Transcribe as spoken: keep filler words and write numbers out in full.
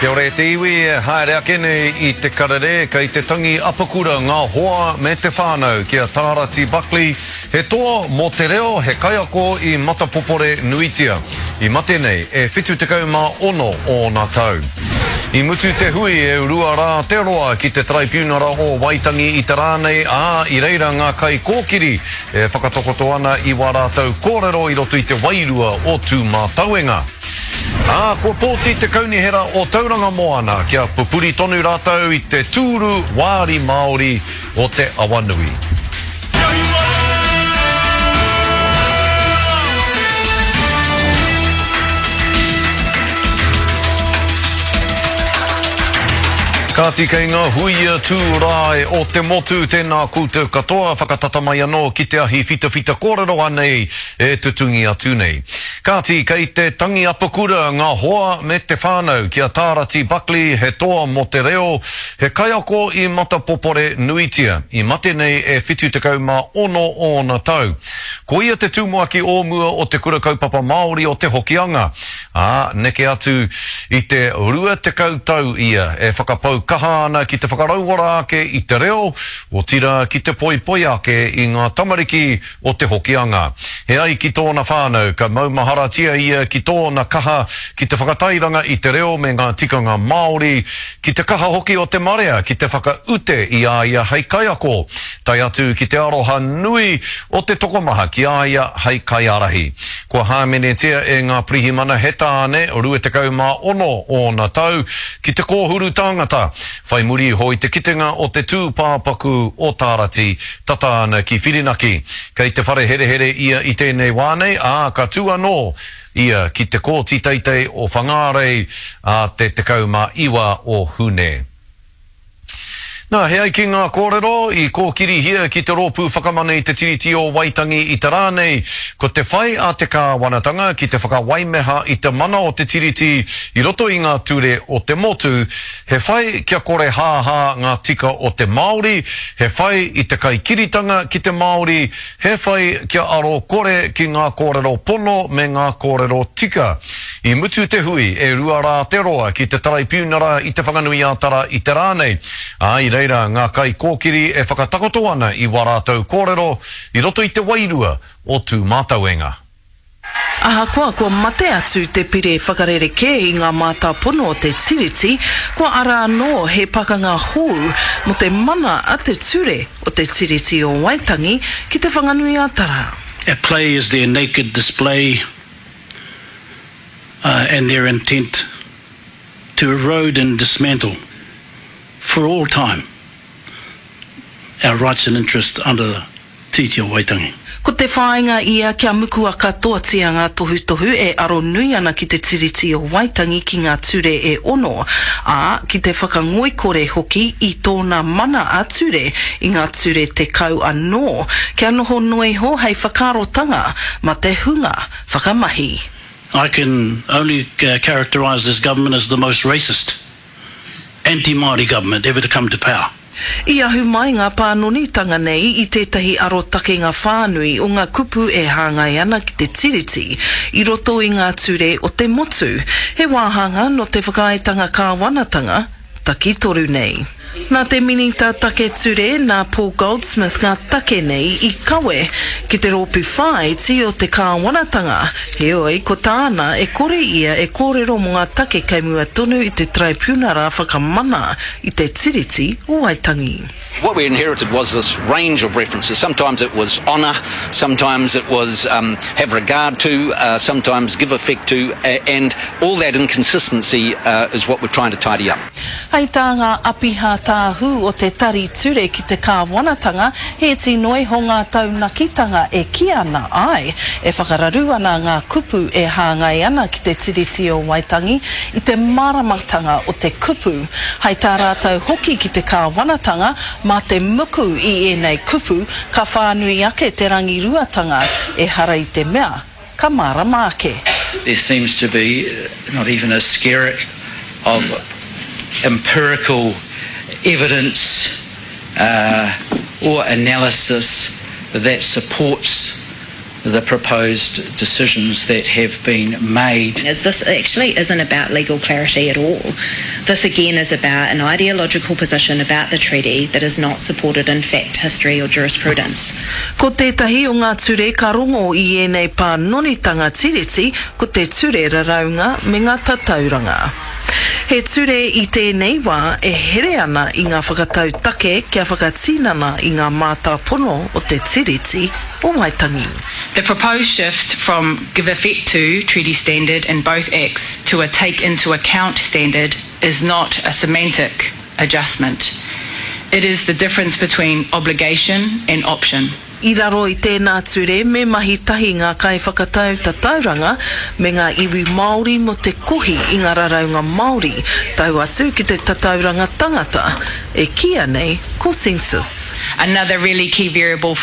Kia ora e te iwi e haere ake nei i te karere, kei te tangi apakura ngā hoa me te whānau ki a Tārati Buckley, he toa mō te reo, he kaiako i matapopore nuitia. I mate nei e whitu tekau mā ono ōna tau. I mutu te hui e rua rā te roa ki te Taraipiunara o Waitangi i te rā nei, ā, i reira ngā kaikōkiri e whakatakoto ana i wā rātou kōrero i roto i te wairua o Tūmātauenga. Ā, kua pōti te Kaunihera o Tauranga Moana kia pupuri tonu rātou i te tūru wāri Māori o te Awanui. Kāti kei ngā huia tūrae o te motu, tēnā koutou katoa, whakatata mai anō ki te ahi whitawhita kōrero anei e tutungi atu nei. Kāti kei te tangi apakura ngā hoa me te whānau ki a Tārati Buckley, he toa mō te reo, he kaiako i matapopore nuitia, i mate nei e whitu tekau mā ono ōna tau. Ko ia te tumuaki o mua o te Kura Kaupapa Māori o Te Hokianga, ā, neke atu i te rua tekau tau ia e whakapau kaha ana ki te whakarauora ake i te reo, otirā ki te poipoi ake i ngā tamariki o Te Hokianga. He ai ki tōna whānau, ka maumaharatia ia ki tōna kaha ki te whakatairanga i te reo me ngā tikanga Māori, ki te kaha hoki o te marea ki te whakaute i a ia hei kaiako, tae atu ki te aroha nui o te tokomaha ki a ia hei kaiārahi. Kua hāmenetia e ngā pirihimana he tāne rua tekau mā ono ōna tau ki te kōhuru tāngata, whai muri iho i te kitenga o te tūpāpaku o Tārati tata ana ki Whirinaki. Kei te whare herehere ia i tēnei wā nei, ā, ka tū anō ia ki te kōti teitei o Whangārei a te tekau mā iwa o Hune. Nā, he ai ki ngā kōrero i kōkirihia ki te rōpū whakamana i te Tiriti o Waitangi i te rā nei, ko te whai a te kāwanatanga ki te whakawaimeha i te mana o te Tiriti i roto i ngā ture o te motu, he whai kia kore hāhā ngā tika o te Māori, he whai i te kaikiritanga ki te Māori, he whai kia aro kore ki ngā kōrero pono me ngā kōrero tika. I mutu te hui e rua rā te roa ki te Taraipiunara i Te Whanganui-ā-Tara i te rā nei, ā, i reira ngā kaikōkiri e whakatakoto ana i wā rātou kōrero i roto i te wairua o Tūmātauenga. Ahakoa kua mate atu te pire whakarerekē i ngā mātāpono o te Tiriti, kua ara anō he pakanga hou mō te mana a te ture o te Tiriti o Waitangi ki Te Whanganui-ā-Tara. At play is their naked display, uh, and their intent to erode and dismantle for all time our rights and interests under the Tiriti o Waitangi. Ko te whāinga ia kia mukua katoatia ngā tohutohu e aro nui ana ki te Tiriti o Waitangi ki ngā ture e ono, ā, ki te whakangoikore hoki i tōna mana ā-ture i ngā ture tekau anō, kia noho noa iho hei whakaarotanga mā te hunga whakamahi. I can only characterise this government as the most racist, anti-Māori government ever to come to power. I ahu mai ngā pānonitanga nei i tētahi arotakenga whānui o ngā kupu e hāngai ana ki te Tiriti i roto i ngā ture o te motu, he wāhanga nō te whakaaetanga kāwanatanga takitoru nei. Nā te Minita Take Ture, nā Paul Goldsmith ngā take nei i kawe ki te rōpū whāiti o te kāwanatanga, heoi ko tāna e kore ia e kōrero mō ngā take kei mua tonu i te Taraipiunara Whakamana i te Tiriti o Waitangi. What we inherited was this range of references. Sometimes it was honour, sometimes it was, um, have regard to, uh, sometimes give effect to, and all that inconsistency, uh, is what we're trying to tidy up. Hei tā ngā apiha tāhū o te Tari Ture ki te Kāwanatanga, he iti noa iho ngā taunakitanga e kī ana āe, e whakararu ana ngā kupu e hāngai ana ki te Tiriti o Waitangi i te māramatanga o te kupu. Hei tā rātou hoki ki te Kāwanatanga, mā te muku i ēnei kupu ka whānui ake te rangiruatanga, ehara i te mea ka mārama ake. There seems to be not even a skerrick of empirical evidence, uh, or analysis that supports the proposed decisions that have been made. Is this actually isn't about legal clarity at all. This again is about an ideological position about the treaty that is not supported in fact, history or jurisprudence. Ko tētahi o ngā ture ka rongo i ēnei pānonitanga tiriti ko te ture raraunga me ngā tatauranga. He ture i tēnei wā e here ana i ngā whakatau take kia whakatinana i ngā mātāpono o te tiriti o Waitangi. The proposed shift from give effect to treaty standard in both acts to a take into account standard is not a semantic adjustment. It is the difference between obligation and option. I raro i tēnā ture me mahi tahi ngā kaiwhakatau tatauranga me ngā iwi Māori mō te kohi i ngā raraunga Māori, tau atu ki te tatauranga tangata, e kīia nei ko census. Another really key variable